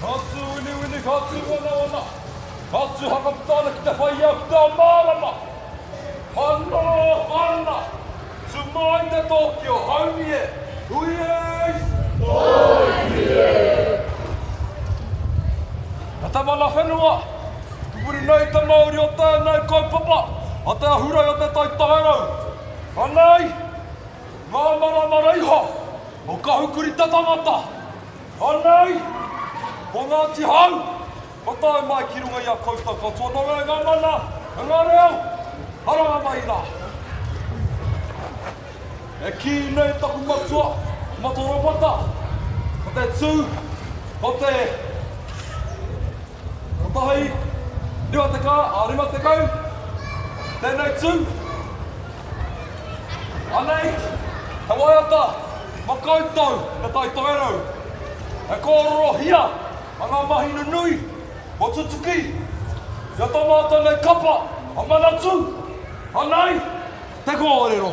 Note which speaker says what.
Speaker 1: Ka tū winiwini, ka tū wanawana, ka tū hakaputa ana ki te whai ao ki te ao mārama. Mana, mana, tū mai te tōki o Haumi e, hui e! Tōki e! Ka te mana whenua, pupuri nei te mauri o tēnei kaupapa a te ahurei o Te Tai Tokerau. Anei ngā maramara iho o Kahukuri te tangata. Anei ko Ngāti Hau kua tae mai ki runga i a koutou katoa nō reira ngā mana, ngā reo, haranga mai rā. E kī nei taku matua, Matua Ropata, ko te tū, ko te kotahi, 20, a 50, tēnei tū. Anei, he waiata ma koutou te Tai Tokerau. E kōrorohia a ngā mahi nunui kua tutuki i a tā mātou nei kapa a Manatū. Anei te kōrero.